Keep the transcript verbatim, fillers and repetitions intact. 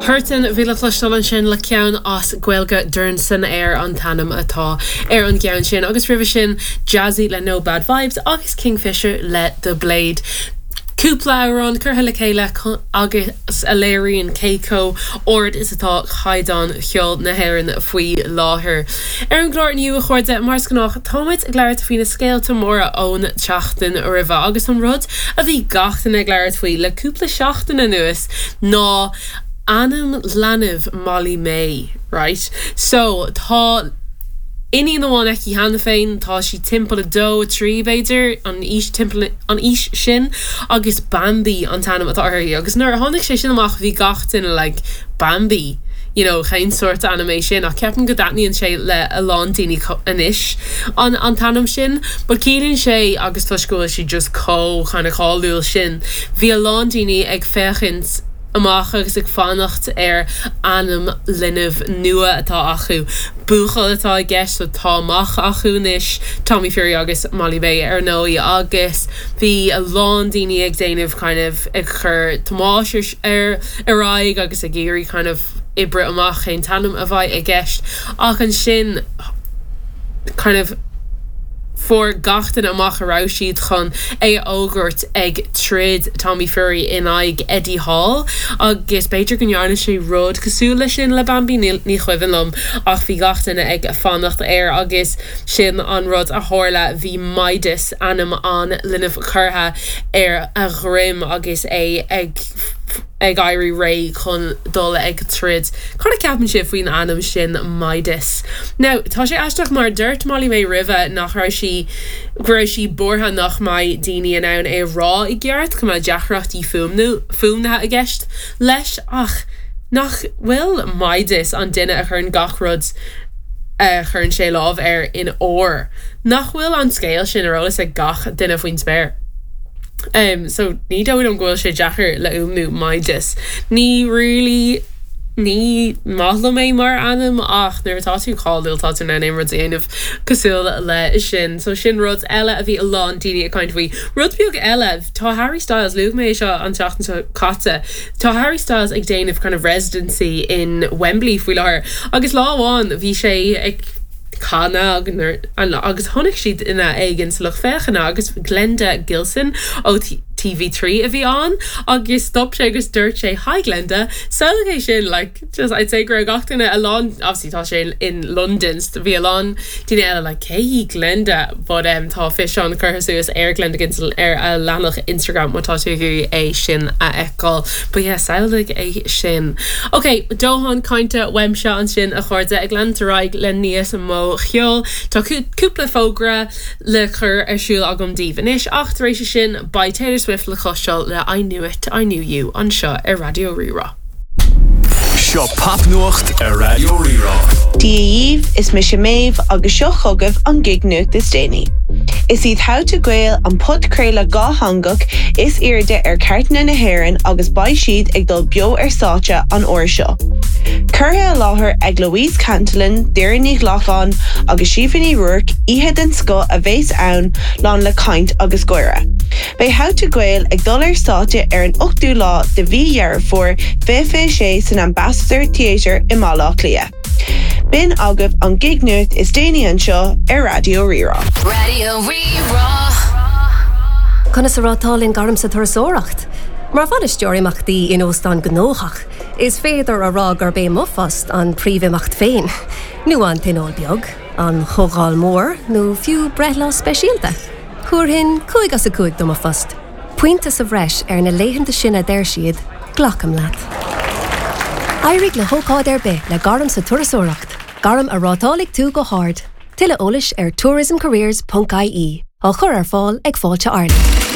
Hurtin bhí le cloisteáil ansin le ceann as Gaeilge Dorn san Aer an t-ainm atá ar an gceann sin agus roimhe sin Jazzy le No Bad Vibes agus Kingfisher le The Blade. Cúpla amhrán curtha le chéile agus a léiríonn cé chomh hard is atá caighdeán cheol na hÉireann faoi láthair. Ar an gclár inniu a chairde mar is gnách táimid ag labhairt faoi na scéalta móra ón tseachtain roimhe agus an rud a bhí gach duine ag labhairt faoi le cúpla seachtain anuas ná ainm leanbh Molly May, right? So tá iníon amháin aici cheana féin tá sí timpeall a dó trí b'fhéidir an aois timpeall an aois sin agus Bambi an t-ainm atá uirthi agus nuair a tháinig sé sin amach bhí gach duine like Bambi. You know, cén sórt ainm é sin ach ceapaim go dtaitníonn sé le a lán daoine anois an an t-ainm sin, but ciallaíonn sé agus toisc go bhfuil sí just chomh kind of cáiliúil sin. Bhí a lán daoine ag féachaint amach agus ag fanacht ar ainm linbh nua atá acu. Buachaill atá i gceist so tá mac acu anois Tommy Fury agus Molly May ar ndóigh agus bhí a lán daoine ag déanamh kind of ag chur tomhais ar ar aghaidh agus ag iarraidh kind of oibriú amach cén t-ainm a bheidh i gceist ach ansin kind of fuair gach duine amach a raibh siad chun é a fhógairt ag troid Tommy Fury in aghaidh Eddie Hall agus b'fhéidir go ndearna sé rud cosúil leis sin le Bambi ní ní cuimhin liom ach bhí gach duine ag fanacht air agus sin an rud a tharla bhí Midas ainm an linbh curtha ar a dhroim agus é ag ag éirí réidh chun dul ag troid. Cad a cheapann sibh faoin ainm sin Midas. Now tá sé aisteach mar dúirt Molly May roimhe nach raibh sí go raibh sí buartha nach mbeidh daoine in ann é rá i gceart go mbeadh deacrachtaí fuaimniú fuaimnithe i gceist leis ach nach bhfuil Midas an duine a chuireann gach rud a chuireann sé lámh air in ór. Nach bhfuil an scéal sin ar eolas ag gach duine faoin spéir. Um, so ní dóigh liom go bhfuil sé deacair le fuaimniú Midas. Ní really ní maith liom é mar ainm ach nuair atá tú cáiliúil tá tú in ann aon rud a dhéanamh cosúil le sin. So sin rud eile a bhí a lán daoine ag caint faoi. Rud beag eile tá Harry Styles luaigh mé seo an tseachtain seo caite. Tá Harry Styles ag déanamh kind of residency in Wembley faoi láthair agus lá amháin bhí sé ag canadh agus chonaic siad duine éigin sa lucht féachana agus Glenda Gilson ó TV trí a bhí ann agus stop sé agus dúirt sé hi Glenda so é sin like just I'd say go raibh gach duine a lán obviously tá sé in London bhí a lán daoine eile like cé hí Glenda but um, tá físeán curtha suas ar Glenda Gilson ar a leathanach Instagram má tá tú é sin a fheiceáil but yeah samhlaigh é sin. Ok, dóthain cainte uaimse ansin a chairde ag leanúint ar aghaidh le níos mó cheoil Tá cúpla fógra le cur ar siúl agam daoibh anois ach tar éis sin beidh Taylor Swift le cloisteáil le I Knew It I Knew You anseo ar Raidió Rí-Rá. Seo popnuacht ar Raidió Rí-Rá. Dia dhaoibh is mise Méabh agus seo chugaibh an gig nuacht is déanaí. Is iad How to Gael an podchraoladh dátheangach is airde ar chairteanna na hÉireann agus beidh siad ag dul beo ar stáitse an uair seo. Curtha i láthair ag Louise Cantillon, Doireann Ní Ghlacáin agus Síomha Ní Ruairc oíche den scoth a bheas ann lán le caint agus gáire. Beidh How to Gael ag dul ar stáitse ar an ochtú lá de mhí Dheireadh Fómhair fiche sé san Ambassador Theatre i mBaile Átha Cliath. B'in agaibh an gig nuacht is déanaí anseo ar Raidió Rí-Rá. Raidió Rí-Rá. Conas a rátálann gairm sa turasóireacht. Mar bhainisteoir imeachtaí in óstán gnóthach, is féidir a rá gurb é mo phost an príomhimeacht féin, nó an tionól beag, an chomhdháil mhór nó fiú breithlá speisialta. Thabharfainn cúig as a cúig do mo phost. Pointe sa bhreis ar na laethanta sin a deir siad, glacaim leat. Éirigh le hócáid ar bith le gairm sa turasóireacht, gairm a rátálfaidh tú go hard. Tuilleadh eolais ar tourismcareers.ie á chur ar fáil ag Fáilte Ireland.